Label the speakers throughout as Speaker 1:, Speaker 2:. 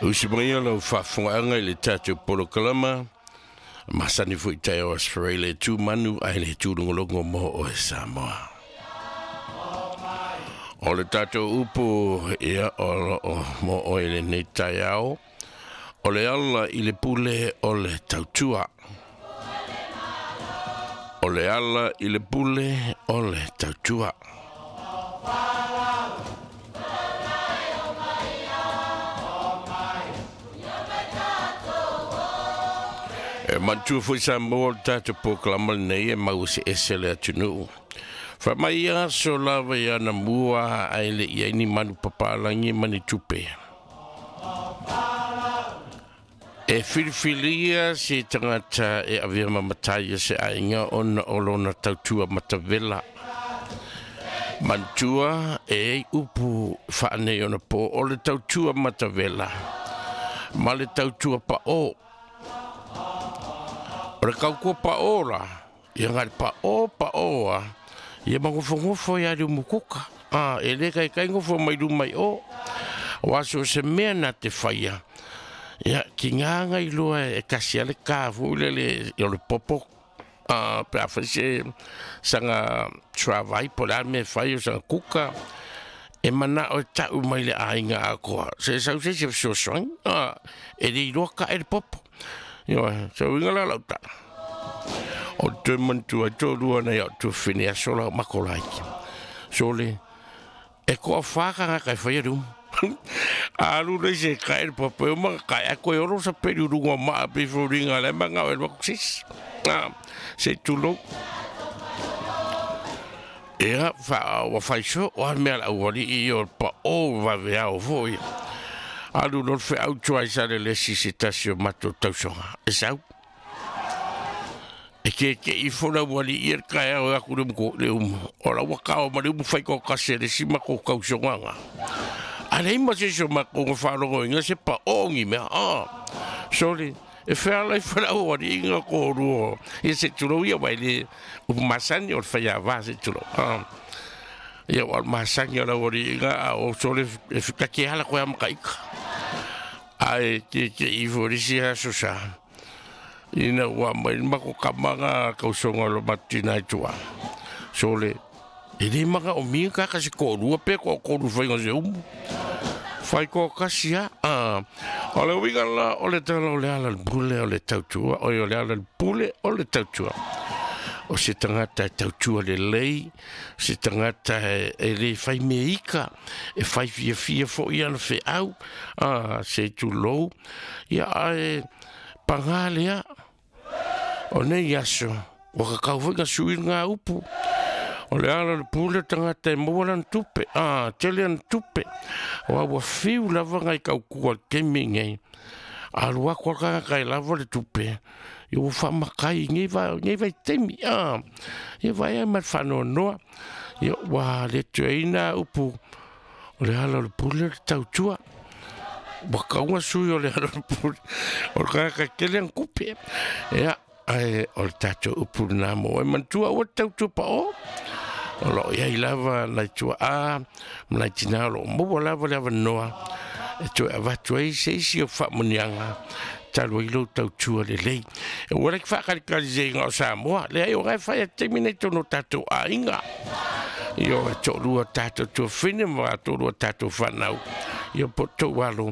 Speaker 1: Usi mai lau faafofogaga i le tatou polokalama masani foi taeao aso le tu manu ai le tūlogologo mo oe Samoa. O le tatou upu ia o loo mo oe lenei taeao, o le ala i le pule o le tautua. O le ala i le pule o le tautua. E manatua foi Samoa o le tatou polokalama lenei e mau eseese le atunuu. Faamai aso lava ia na mua ae le i ai ni manu papalagi ma ni tupe. E filifilia se tagata e avea ma matai se aiga ona o lona tautua matavela. Manatua e ai upu faanei ona po o le tautua matavela ma le tautua pa'o. O le tautua pa'o la, ia ngai pa'o pa'o a, ia magofogofo ia le umukuka. E le kaikai gofo mai luma i o. O aso se mea na te whaia. Ia, ki ngā ngai loa e kasi ale ka fu le le o le popo. Pe a whai se sanga travai po le me whai o sanga kuka. E mana o tau mai le ainga a koa. Se sau se se fesoasoani. E le iloa ka e le popo. Ia, se uiga la lau tala. O te mantua tō rua nei o tō whine a sola o makolaiki. Sole, e koa whākanga kai whai aru. Alu nei se kai le popo e o kai a koe oro sa peri urunga maa pe whiringa le manga o e sis. Se tūlou. Ea, wa whaiso, o an mea la uwali i o pa o wawe ao foi. Alu no whe au tuai sa le lesi se tasi o mato tausonga. E sau. E ke ke i fona wali i e kai au aku le mko le umu. O la waka o ma le umu whai ko kase le sima ko kausonga. A le ima se so ma ko ngawharongo inga se pa ongi mea. Sorry. E whea lai whana wali inga ko ruo. E se turo ia wai le upu masani o le whai a wā se turo. Ia wal masani o la wali inga o sole e whikake hala koe amaka ika. Ai ke ke i fo risi aso sa. Ina ua mai mako kamanga kausonga lo matina i tua. Sole, e le manga o minga kaka se kōrua pe ko kōru whainga se umu. Whai ko kasi a. O le uiga la o le tala o le ala le pule o le tautua. O le ala le pule o le tautua. O se tangata e tautua le lei, se tangata e le whai me ika, e whai fia fia fo i ana whe au, se tūlou, ia ae pangā lea. O nei aso, wakakau fai ngā sui ngā upu. O le ala le pule tangata e maua lan tupe, tele an tupe. O aua whiu lava ngai kaukua kemi ngai. Alu aku alkanga kai lava le tupe. Ia ua whaamakai ngei vai temi. Ia vai ai ma whanoanoa. Ia ua le tuaina upu. O le ala le pule le tautua. Wakaunga sui o le ala le pule. O le kanga kele an kupe. Ia, ai, o le tātou upu nā mō. E mantua ua tautua pa o. O lo iai lava nai tua a, ma nai tina o lo maua lava le avanoa. E toe avatu ai se isi o whaamunianga. Talu ai lou tautua le lei. E ua leki whakalikali se inga o Samoa. Le ai o ngai whai a teimi nei tono tātou a inga. Io e tō rua tātou tua whine ma tō rua tātou whanau. Io po tō walo.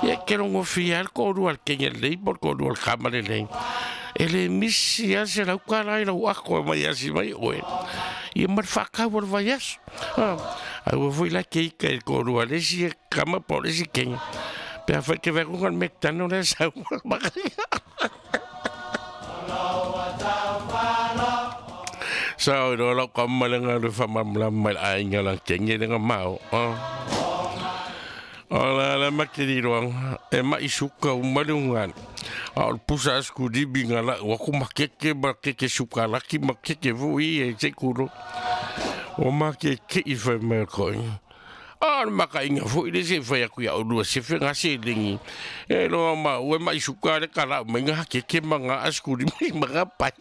Speaker 1: Ia ke rongo whia al kō rua al kenge lei, po kō rua al kama le lei. E le misi a se lau ka lai lau ako e mai asi mai oe. Ia mar whakau o le vai aso. Ai ua foi la ke ika e kō rua le si e kama po le si kenge. Pe a whai ke whakunga le mektano le sau. Sao i roa lau kama le ngā le whamamla mai la ainga la kenge le ngā mao. O la la makiri roanga, e mai suka umari ungan. A o le pusa asku dibi ngā la, waku makeke makeke suka laki makeke vui e te kuro. O makeke i whai mai koe. A le maka inga foi le se whai aku ia urua se whenga se lengi. E loa ma ue mai suka le kala mai ngā keke ma ngā asku dibi ma ngā pai.